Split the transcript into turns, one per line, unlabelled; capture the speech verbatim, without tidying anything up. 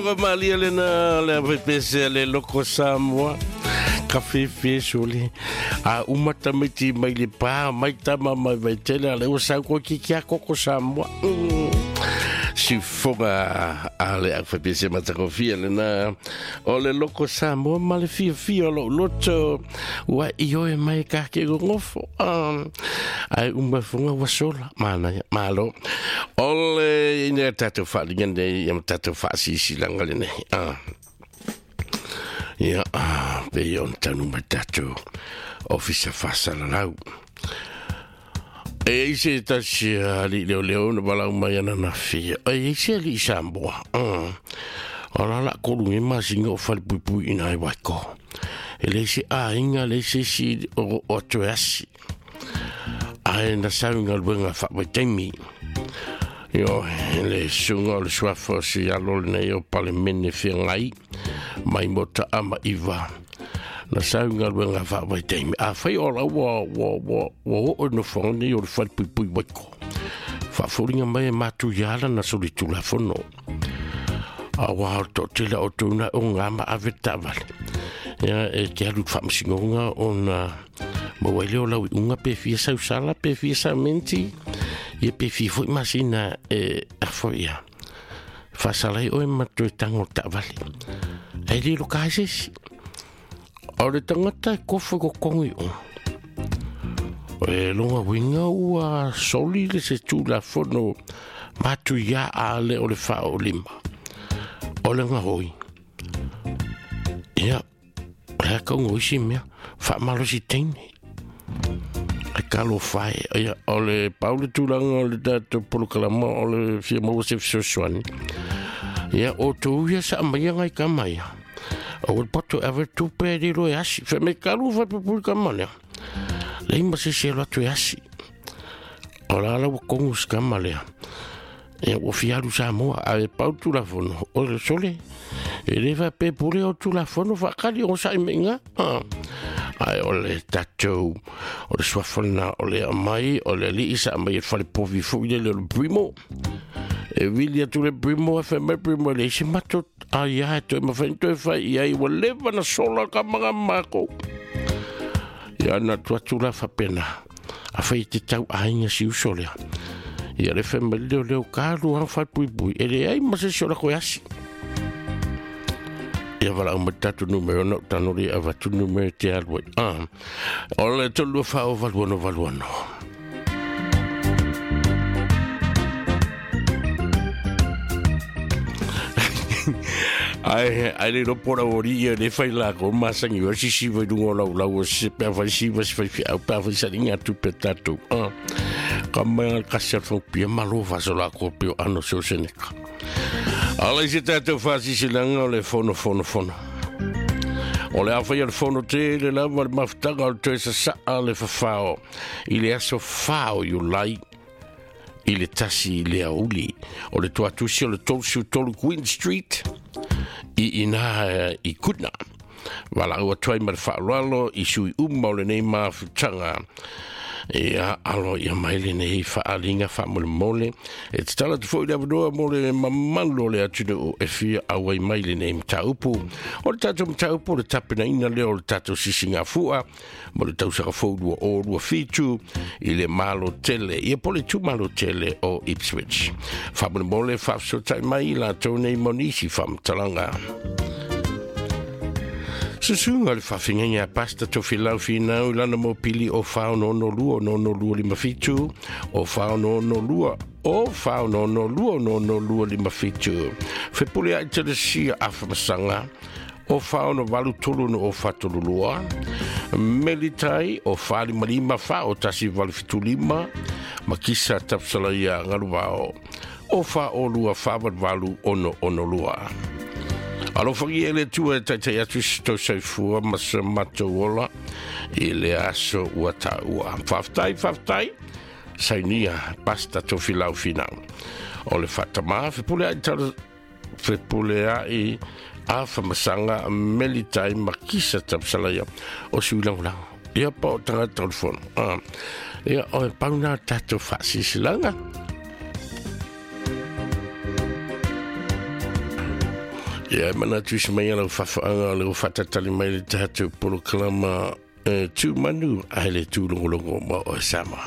Malia lena le pese le loko Samoa kafe fesole a umata meti mai le pa mai tama mai vaitele le o sau ko ki kia koko Samoa sifoga a le F P C matakofia lena o le loko Samoa ma le fiafia o lou loto ua ioe mai ka ke gogofo ai uma foga ua sola manaia malo o le ina tatou faaliga nei ia ma tatou faasisilaga lenei ah. Ia, pe ona taunu mai tatou ofisa faasalalau. E ai se tasi alii leoleo na valaau mai ananafi. E ai se alii Samoa. O la la kolu nge masinga o falepuipui ina ai waiko. E leai se aiga, leai se isi o o toe asi. Ae na sau i galuega faavaitaimi. Ioe, le susuga o le suafa o se alo lenei o Palemene feagai mai mo taa ma iva. Na sau i galuega faavaitaimi. Afai o la ua ua ua ua oo i nofoaga nei o le falepuipui waiko. Faafoliga mai e matu ia ala na solitulafono. Aua o le toatele o outou na o ga ma ave taavale. Ia e te alu i le faamasinoga ona maua ai lea o lau iuga pe fia sausala pe fia samenti ia pe fia foi masina e afo ia. Faasala ai oe ma toe tago le taavale. Ae le loka ai se isi. O le tagata e kofo i kokogi i o. E longa uiga ua soli le se tulafono matuia a le o le faaolima. O le gahoi. Ia, o le a kauga o isi mea, faamalosi teine. E talofa e, ia, o le pau le tulaga o le tatou polokalama o le fia maua se fesoasoani. Ia, o tou ia sa maia ngai kama ia. O le poto e ave tupe e lilo e asi. Fe me kalu fa pupul kama lea. Lei ma se se atu e asi. O la la ua kongu se kama lea. Ia ua fia alu Samoa, a e pau tulafono. O le sole, e le faapea pule o tulafono faakali o sa'i meiga. Ae o le tatou, o le suafa lena o le aumai, o le alii sa aumai e falepovi foi lele o le Primo. E vili atu le Primo, e fai mai Primo, e leai se matou aia e toe mafai ona toe fai i ai, ua leva ona sola ka maga ma makou. Ia na atu atu la faapena, afai e te tau aiga si uso lea. Ia le fai mai leo leo ka alu lava falepuipui, e leai ma se isi o lako e asi. Ia valaau mai tatou numera ona ou tago lea e avatu numera e te alu ai. Ah, o le tolu lua fa o valu ono valu ono. Ai, ai le lopo la ori ia le fai la ko masangi o sisi vai lunga o lau lau o se pea fai siva si fai fiau pea fai salinga atu pe tatou. Ah, ka mai al kasi al fau pia malo faso la ko peo ano se o seneka. Ala i se tatou faasisilanga o le fono fono fono. O le a fai al fono tele lava le mafutaga o le toe sasaa le fafao i le aso fa o Iulai i le tasi i le aoauli. O le tuatusi o le tolu tolu Queen Street i ina i Kutna. Valaau atu ai ma le faaaloalo i sui uma o lenei mafutaga. Ia alo ia mai lenei faaaliga faamolemole. E tatalo atu foi le avanoa mo le mamalu o le atunuu e fia auai mai lenei mataupu. O le tatou mataupu o le tapenaina lea o le tatou sisigafua mo le tausaga fou lua o lua fitu i le malo tele, ia po le itumalo tele o Ipswich. Faamolemole faafesootai mai i latou nei mo nisi faamatalaga. Susuga le faafeagaiga a Pastor Tofilau Finau i lana mopili o fa ono ono lua ono ono lua lima fitu, o fa ono ono lua o fa ono ono lua ono ono lua lima fitu. Fepuleai Telesia Afamasaga o fa ono valu tolu ono o fa tolu lua. Melitai o fa lima lima fa o tasi valu fitu lima. Makisa Tapsalaia Galuvao o fa o lua fa valu valu ono ono lua. Alofagia e le Atua e taitai atu i se tou soifua ma se matou ola i le aso ua taua. Faafetai, faafetai, sainia Pasta Tofilau Finau. O le faatamā fepuleai tala fepuleai a whamasaga Melitai Makisa Tapsalaia o sui lagolago. Ia pa o tagata o le fono. Ah. Ia o e pau nā tatou faasisilaga. Ia e manatu isi mai ala fafaanga o le o fatatali mai le tatou polokalama e tu manu ai le tūlogologo ma o sama.